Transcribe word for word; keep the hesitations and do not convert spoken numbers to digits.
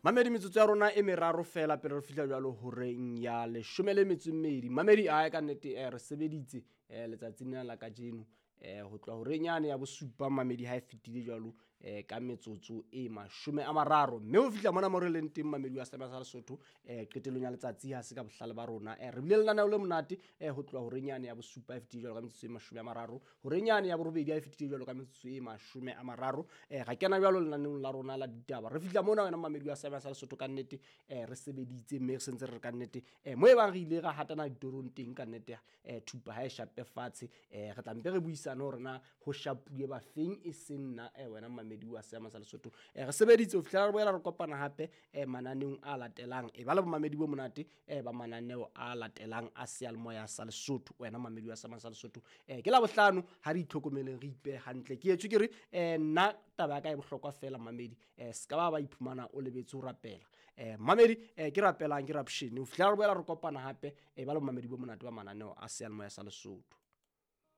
Mamedi, metsotso ya rona e meraro fela pele re fihla jwalo horeng ya leshome le metso e mmedi. Mamedi, ae ka nnete eh, re sebeditse eh, letsatsing lena la kajeno eh, ho tloha horeng yane ya bosupa, mamedi, ha e fetile jwalo eh, ka metsotso e mashome a mararo, mme ho fihla mona mo re leng teng, mamedi wa Seema sa Lesotho, eh, qetellong ya letsatsi ha se ka bohlale ba rona. eh, re bile lenaneo le monate eh, ho tloha horeng yane ya bosupa e fetile jwalo ka metsotso e mashome a mararo, horeng yane ya borobedi ha e fetile jwalo ka metsotso e mashome a mararo, eh, ra kena jwalo lenaneong la rona la ditaba. Re fihla mona, wena mamedi wa Seema sa Lesotho, ka nnete eh, re sebeditse, mme re sentse re re ka nnete eh, mo e bang re ile ra hatana ditorong teng, ka nnete eh, thupa ha e shape fatshe. eh, re tla mpe re buisane hore na ho shapuwe bafeng, e seng nna eh, wena mamedi wa Seema sa Lesotho. eh, re sebeditse ho fihlela re boela re kopana hape eh, mananeong a latelang. E ba le bomamedi bo monate eh, ba mananeo a latelang a seyalemoya sa Lesotho, wena mamedi wa Seema sa Lesotho. eh, ke la bohlano, ha re itlhokomeleng, re ipehe hantle. Ke etswe ke re eh, nna taba ya ka e bohlokwa fela, mamedi, eh, se ka ba ba iphumana o lebetse ho rapela. eh, mamedi eh, ke rapelang, ke rapshene ho fihlela re boela re kopana hape. E ba le bomamedi bo monate ba mananeo a seyalemoya sa Lesotho.